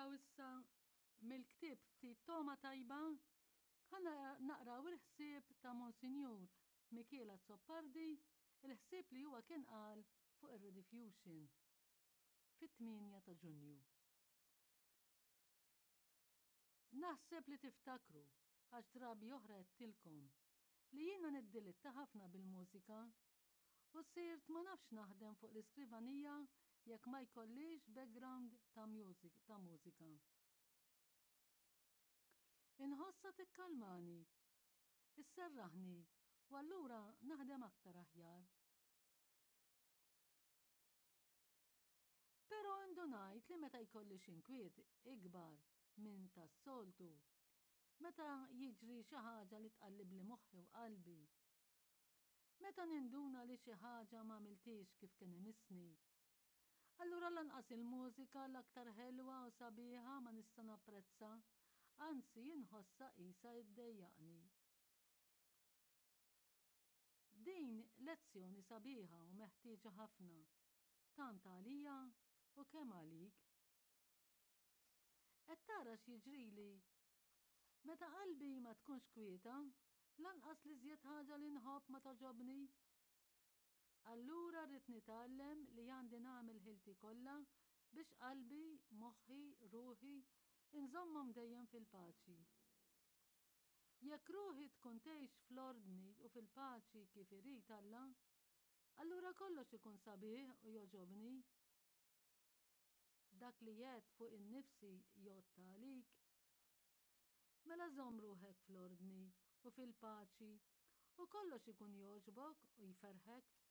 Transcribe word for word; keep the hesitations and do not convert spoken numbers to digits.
naqraw issa mill-ktieb Ftit Togħma Tajba, ħa naqraw il-ħsieb ta' Monsinjur Mikiel Azzopardi, il-ħsieb li huwa kien qal fuq ir-Rediffusion fit-tmienja ta' Ġunju. Naħseb li tiftakru, għax drabi oħra għedtilkom, li jiena niddilitta ħafna bil-mużika u sirt ma nafx naħdem fuq l-iskrivanija jekk ma jkollix background ta' music, ta' mużika. Inħossha tikkalmani, isserraħni u allura naħdem aktar aħjar. Però indunajt li meta jkolli xi nkwiet ikbar minn tas-soltu, meta jiġri xi ħaġa li tqallibli moħħi u qalbi, meta ninduna li xi ħaġa ma għamiltix kif kien imissni, allura lanqas il-mużika l-aktar ħelwa u sabiħa ma nista' napprezza, anzi inħossha qisha iddejjaqni. Din lezzjoni sabiħa u meħtieġa ħafna, tant għalija u kemm għalik. Qed tara x'jiġrili? Meta qalbi ma tkunx kwieta, lanqas l-iżjed ħaġa li nħobb ma togħġobni. Allura rrid nitgħallem li għandi nagħmel ħilti kollha biex qalbi, moħħi, ruħi, inżommhom dejjem fil-paċi. Jekk ruħi tkun tgħix fl-ordni u fil-paċi kif irid Alla, allura kollox ikun sabiħ u jogħġobni. Dak li għedt fuq innifsi jgħodd għalik. Mela żomm ruħek fl-ordni u fil-paċi u kollox ikun jogħġbok u jferrħek.